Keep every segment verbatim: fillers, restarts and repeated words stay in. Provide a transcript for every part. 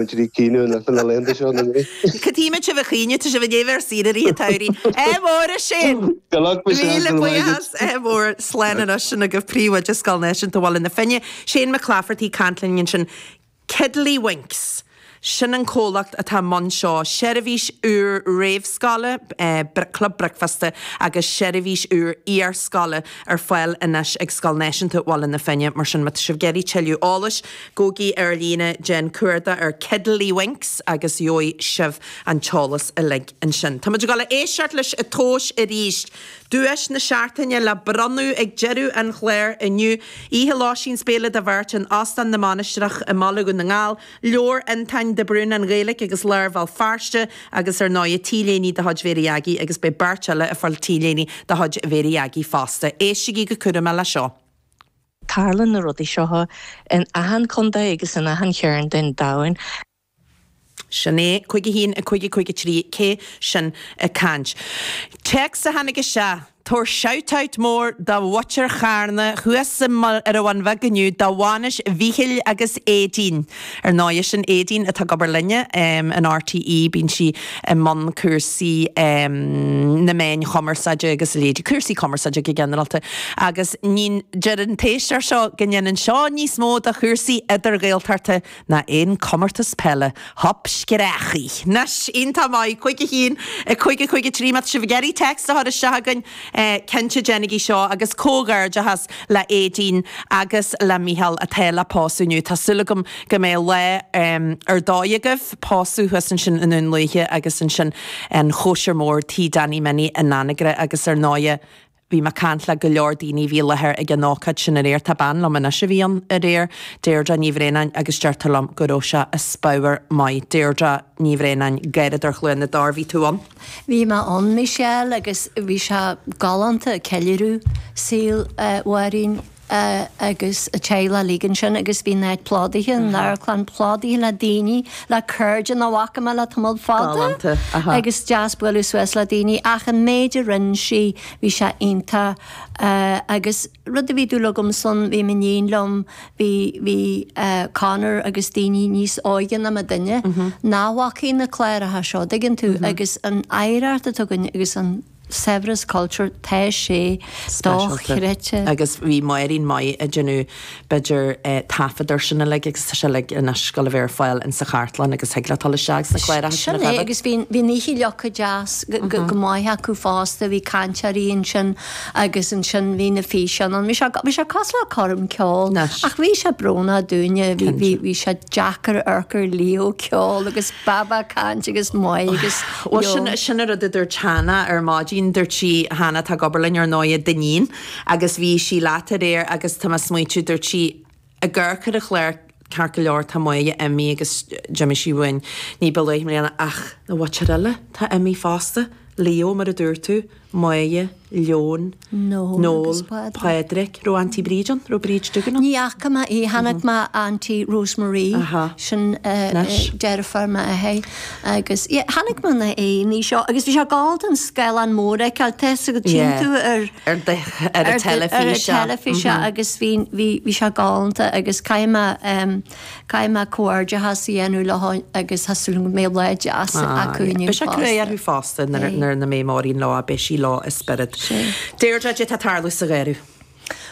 Muid ag caoineadh na laethanta seo na mí. Cad chuige sibh ag caoineadh, tá sibh ag éamh ar saoire i rith an tsamhraidh. Ádh mór a Shane! Good luck Michelle, Míle go raibh maith agat. buíochas, ádh mór, slán anois sin agaibh Príomhoide Scoil Náisiúnta Bhaile na Finne, Shane McClafferty ag caint linn ansin. Kiddlywinks, sin an comhlacht atá i mbun seo, seirbhís úr réamhscoile, club bricfeasta agus seirbhís úr iarscoile ar fáil anois ag Scoil Náisiúnta Bhaile na Finne. Mar sin, má tá sibh ag iarraidh tuilleadh eolais, gabhaigí ar líne, déan cuardach ar Kiddlywinks agus gheobhaidh sibh an t-eolas uilig ansin. Tá muid ag dul a éisteacht leis an tomhas arís. Duais na seachtaine le bronnadh ag deireadh an chláir inniu. Oíche lóistín 's béile do bheirt in Óstán na Mainistreach i mBaile Dhún na nGall, leabhar Fhionntáin de Brún, An Ghaeilge agus Lár Bhéal Feirste agus ar ndóigh T-léine de chuid Mhéirí Aggie agus beidh beirt eile ag fáil T-léine de chuid Mhéirí Aggie fosta. Éistigí go cúramach le seo. Tarlaíonn na rudaí seo in achan chontae agus in achan chearn den domhan. Sin é, cúig a haon, a cúig, a cúig a trí, cé sin ag caint? Téacs a tháinig isteach, Tabhair shout-out mór do mhuintir Charna thuas ar an Bhun Bheag inniu do bhainis Mhíchíl agus Aedín. Ar ndóigh, sin Aedín atá ag obair linne in RTÉ, bíonn sí i mbun cúrsaí na meáin chumarsáide agus a leithéidí, cúrsaí cumarsáide go ginearálta. Agus ní, deir an t-éisteoir seo go ndéanann seo níos mó do chúrsaí idir-Ghaeltachta ná aon comórtas peile. Hup screachaí. Anois, iontach maith, cúig a haon, a cúig, a cúig a trí, má tá sibh ag iarraidh téacs a chur isteach chugainn, cinnte déanaigí seo agus comhghairdeachas le Aedín agus le Mícheál atá le pósadh inniu. Tá súil agam go mbeidh lá ar dóigh agaibh, pósadh thuas ansin i nDún Lúiche agus ansin an chóisir mhór Tigh Danny Minnie in Anagaire agus ar ndóighe Bhí mé ag caint le go leor daoine a bhí i láthair ag an ócáid sin aréir. Tá bean liom anois a bhí ann aréir, Deirdre Ní Bhraonáin, agus deirtear liom go raibh sé as pabhar maith. Deirdre Ní Bhraonáin, Garradóir Chluain na dTor, bhí tú ann? Bhí mé ann, Michelle, agus bhí sé galánta, ceiliúradh saol Mháirín. agus a teaghlach uilig ansin agus bhí an áit plódaithe, an amharclann plódaithe le daoine, le cairde nach bhfaca mé le tamall fada. Galánta, aha. Agus deas bualadh suas le daoine ach an méid a rinne sí, bhí sé iontach agus rud a bhí dúil agam san, bhí m'iníon liom, bhí, bhí Conor agus daoine níos óige ná mo duine nach bhfacaidh na cláracha seo, dtuigeann tú, agus an oidhreacht atá againn agus an. saibhreas cultúir, tá sé dochreidte. Agus bhí Máirín maith ag déanamh b'fhéidir taifead ar sin uilig agus tá sé uilig anois ag gabháil a bheith ar fáil insa chartlann agus thig leat dul isteach sna cláracha sin a Sin é choimhéad. agus bhí bhí an oíche leagtha deas go maith acu fosta, bhí cainteoirí ansin agus ansin bhí na físeáin ann. Bhí sé bhí sé cosúil le coirm ceoil ach bhí sé brónach dúinne, bhí bhí bhí sé deacair amharc ar Leo ag ceol agus Baba ag caint agus Máire agus Bhuel sin, sin an rud a dúirt Hannah ar maidin, dúirt sí, Hannah atá ag obair linn ar ndóighe, d'iníon, agus bhí sí leat aréir agus tá mé ag smaointiú, dúirt sí, ag amharc ar an chlár, ceart go leor tá Máire imithe agus d'imigh sí uainn ní ba luaithe i mbliana ach na mhuintir eile atá imithe fosta, Leo mar a dúirt tú, Máire, Leon, Noel Noel, agus Pádraig. Pádraig. Raibh Auntie Bríd ann? Raibh Bríd Duggan ann? Ní fhaca mé í, chonaic mé Auntie Rosemarie, Aha. sin Anois. deirfiúr m'athar agus yeah, chonaic mé na aíonna seo agus bhí sé galánta an scáileán mór a fheiceáil, tá a fhios agat, tchíonn Yeah. tú ar Ar the, ar an ar the- ar an teilifís, yeah. teilifís agus bhí, bhí, bhí sé galánta agus caithfidh mé em, Caithfidh mé comhghairdeachas a dhéanamh leo agus tá súil agam go mbeidh lá deas acu inniu Beidh sé crua fosta. orthu fosta nuair nach mbeidh Máirín leo, beidh sí leo i spiorad. Deirdre, cad é atá ag tarlú sa gharradh?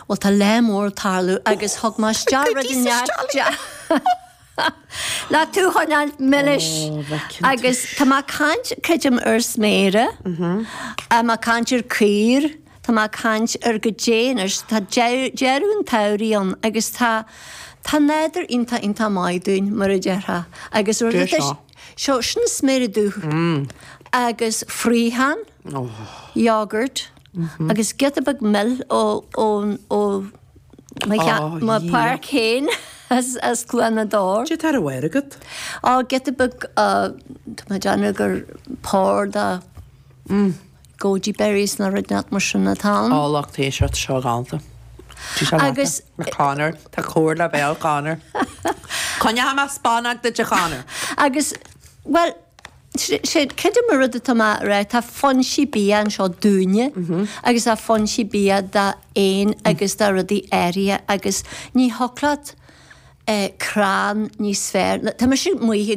Bhuel tá lá mór ag tarlú agus thug mé isteach rud inteacht le tú a choinneáil milis agus tá mé ag caint creidim ar sméara, tá mé ag caint ar caor, Tá mé ag caint ar goidé anois, tá deireadh an tsamhraidh ann agus tá, tá nádúr iontach, iontach maith dúinn, mar a déarfá. Agus rud Cé atá, seo? seo, sin sméara dubh agus fraochán, yogurt agus giota beag mil ó, ó, ó mo Ó, mo yeah. pháirc féin as, as Cluain na dTor. Cad é atá ar an mhára agat? Ó, giota beag, tá mé ag déanamh gur pár de. Goji berries nó rud inteacht mar sin atá ann. Ó lucht éisteachta seo galánta. Tá sé Agus. leata. Conor, tá comhairle bhéal Conor. Coinneoidh mé spannóg duit a Chonor. Agus, bhuel, sé, creidim an rud atá mé a rá, tá foinsí bia anseo dúinne agus tá foinsí bia d'éin agus do rudaí áirithe agus ní thiocfadh leat eh, crann níos fearr. Tá mise amuigh i